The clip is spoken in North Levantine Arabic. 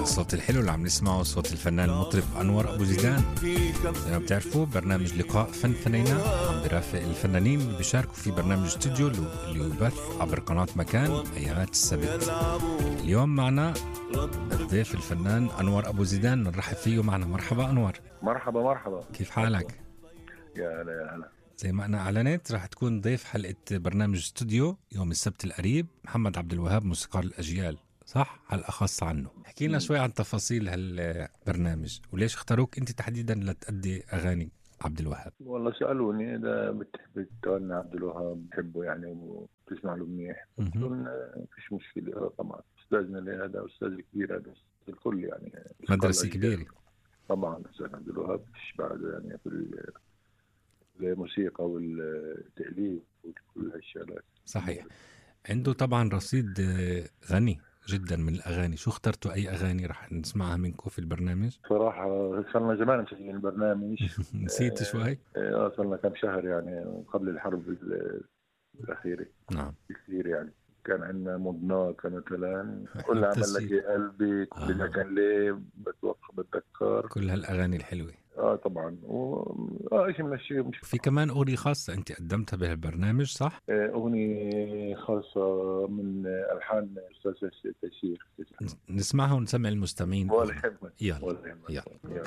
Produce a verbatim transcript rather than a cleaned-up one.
الصوت الحلو اللي عم نسمعه صوت الفنان المطرب أنور أبو زيدان. زي ما بتعرفوا برنامج لقاء فن فنينا عم برافق الفنانين اللي بيشاركوا في برنامج استوديو اللي يبث عبر قناة مكان أيامات السبت. اليوم معنا الضيف الفنان أنور أبو زيدان، نرحب فيه معنا. مرحبا أنور. مرحبا مرحبا، كيف حالك؟ يا هلا يا هلا. زي ما أنا أعلنت رح تكون ضيف حلقة برنامج استوديو يوم السبت القريب محمد عبد الوهاب موسيقار الأجيال، صح؟ حلقة خاصة عنه. حكي لنا شوي عن تفاصيل هالبرنامج وليش اختاروك أنت تحديدا لتأدي أغاني عبد الوهاب. والله سألوني إذا بتحب تغني عبد الوهاب، بحبه يعني وبتسمع له منيح، قلت لهم فيش مشكلة. طبعا أستاذنا لهذا أستاذ كبير، هذا الكل يعني مدرسة كبيرة طبعا. أستاذ عبد الوهاب فيش بعده يعني في الموسيقى والتأليف وكل هالشغلات. صحيح. عنده طبعا رصيد غني جدا من الأغاني. شو اخترتوا؟ أي أغاني رح نسمعها منكم في البرنامج؟ صراحة صرنا زمان مسجلين البرنامج. نسيت شوي؟ اه صرنا كم شهر يعني قبل الحرب الأخيرة. نعم كثير يعني. كان عندنا مضناك مثلا، كل عمل لك يا قلبي، كل آه. كان ليه بتوقع بتذكر، كل هالأغاني الحلوة. اه طبعا. و اه شيء من الشيء. مش في كمان أغنية خاصة أنت قدمتها بهالبرنامج، صح؟ آه أغنية خاصة من ألحان أستاذ تيسير. نسمعها ونسمع المستمعين. ولا يهمك. يلا يلا, يلا.